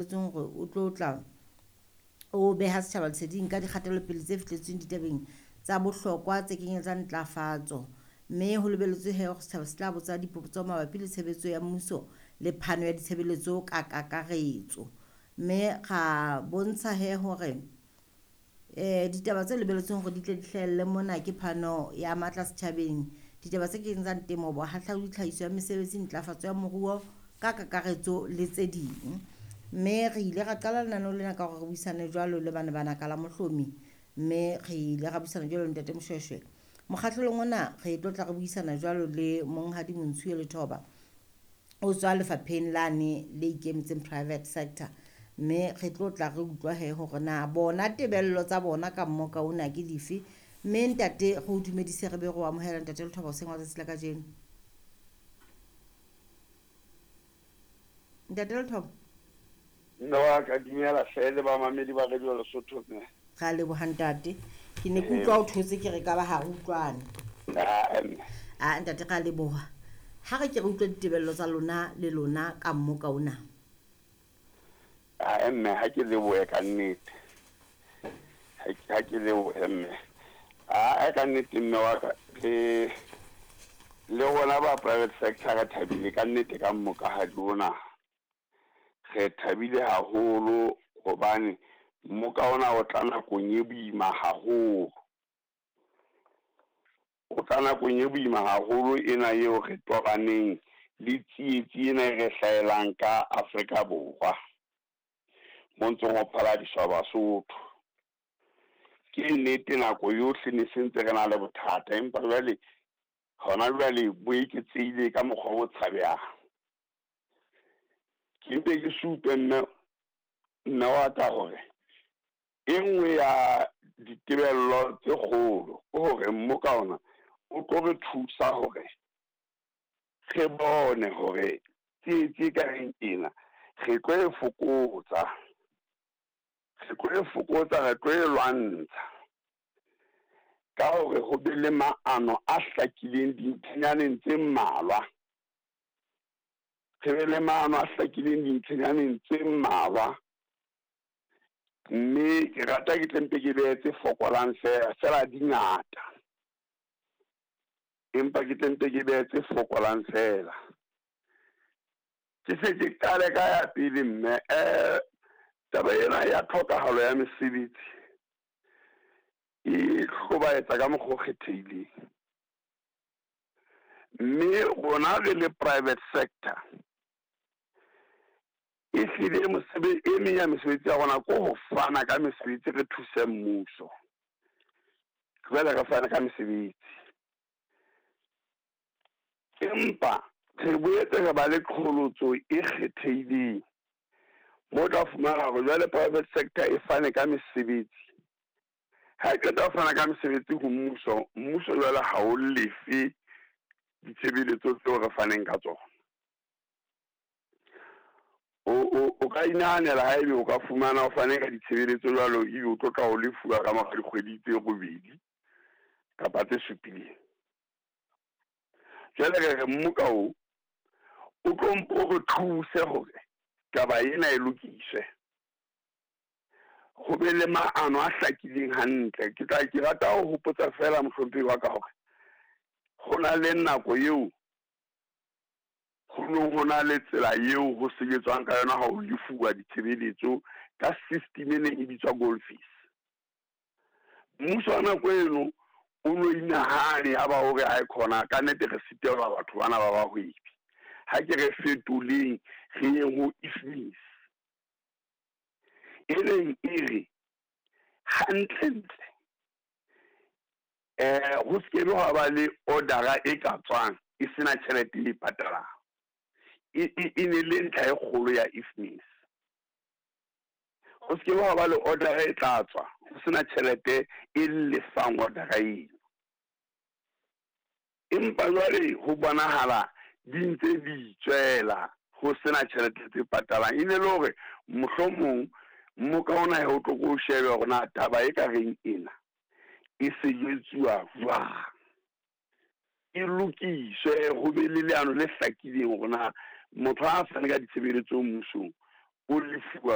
Lebelletsweng hore o tlo tla o beha setjhaba leseding ka dikgatelopele tse fihletsweng ditabeng tsa bohlokwa tse kenyeletsang ntlafatso. Mme ho lebelletswe he hore setjhaba se tla botsa dipotso mabapi le tshebetso ya mmuso le phano ya ditshebeletso ka kakaretso. Mme ra bontsha he hore ditaba tse lebelletsweng hore di tle di hlahelle mona ke phano ya matla setjhabeng, ditaba tse kenyeletsang temo, bohahlaudi, tlhahiso ya mesebetsi, ntlafatso ya moruo ka kakaretso le tse ding. Mme re ile ra qala lenaneo lena ka hore re buisane jwalo le bana ba naka la Mohlomi, mme re ile ra buisana jwalo le Ntate Moshweshwe. Mokgahlelong ona re tlo tla re buisana jwalo le Monghadi Montshiwe Lethoba, o tswa lefapheng lane le ikemetseng private sector, mme re tlo tla re utlwa he hore na bona tebello tsa bona ka mmoka ona ke dife. Mme ntate re o dumedise, re be re o amohela Ntate Lethoba hoseng wa tsatsi la kajeno. Ntate Lethoba. Mme wa ka, dumela hle le bamamedi ba Radio Lesotho mme. Ra leboha ntate. Ke ne ke utlwa o thotse ke re ka ba ha re utlwane. Ah, mme. Ah, ntate ra leboha. Ha re ke re utlwe ditebello tsa lona le lona ka mmoka ona. Ah, mme ha ke lebohe ka nnete. Ha ke lebohe mme. Ah, ka nnete mme wa ka, le le rona ba private sector re thabile ka nnete ka mmokahadi ona. Re thabile haholo hobane mmoka ona o tla nakong e boima haholo. O tla nakong e boima haholo ena eo re tobaneng le tsietsi ena e re hlahelang ka Afrika Borwa. Mo ntseng ho phaladiswa Basotho. Ke nnete nako yohle ne sentse re na le bothata, empa jwale hona jwale bo eketsehile ka mokgwa o tshabehang. Ke mpe ke supe mme mme wa ka hore e nngwe ya ditebello tse kgolo ke hore mmoka ona o tlo re thusa hore re bone hore tsietsi e kareng ena re tlo e fokotsa, re tlo e fokotsa, re tlo e lwantsha ka hore ho be le maano a hlakileng dintlhanyaneng tse mmalwa. Re be le maano a hlakileng dintlhanyaneng tse mmalwa. Mme ke rata ke tle mpe ke behe tse fokolang fela, fela di ngata. Empa ke tle mpe ke behe tse fokolang fela. Ke se ke qale ka ya pele mme, taba ena ya tlhokahalo ya mesebetsi e hlobaetsa ka mokgwa o kgethehileng. Mme rona re le private sector e hlile e meng ya mesebetsi ya rona ke ho fana ka mesebetsi, re thuse mmuso. Jwale re fana ka mesebetsi. Empa re boetse re ba le qholotso e kgethehileng. Mo tla fumana hore jwale private sector e fane ka mesebetsi. Ha e qeta ho fana ka mesebetsi ho mmuso, mmuso jwale ha o lefe ditshebeletso tseo re faneng ka tsona. O ka inahanela ha ebe o ka fumana o fane ka ditshebeletso jwalo, ebe o tlo tla o lefuwa ka mora dikgwedi tse robedi kapa tse supileng. Jwale re re mmoka o tlo mpo re thuse hore taba ena e lokiswe. Ho be le maano a hlakileng hantle. Ke tla ke rata ho hopotsa fela mohlomphehi wa ka hore ho na le nako eo ho neng ho na le tsela eo ho sebetswang ka yona ha ho lefuwa ditshebeletso ka system e neng e bitswa Gold Fish. Mmuso wa nako eno o no inahane ya ba hore ha e khona ka nnete re sitelwa batho bana ba bahwebi. Ha ke re fetoleng re yeng ho IFMIS. E leng e re hantlentle ho se ke ha ba le order-a e ka tswang e sena tjhelete e patalang. E ne le ntlha e kgolo ya IFMIS. Ho se ke ha ba le order-a e tla tswa ho sena tjhelete e lefang order-a eno. Empa jwale ho bonahala di ntse di itswela ho sena tjhelete tse patalang. E ne le hore mohlomong mmoka ona o tlo ko shebe hore na taba e ka reng ena e sebetsuwa jwang. E lokiswe ho be le leano le hlakileng hore na motho ha a fane ka ditshebeletso mmusong o lefuwa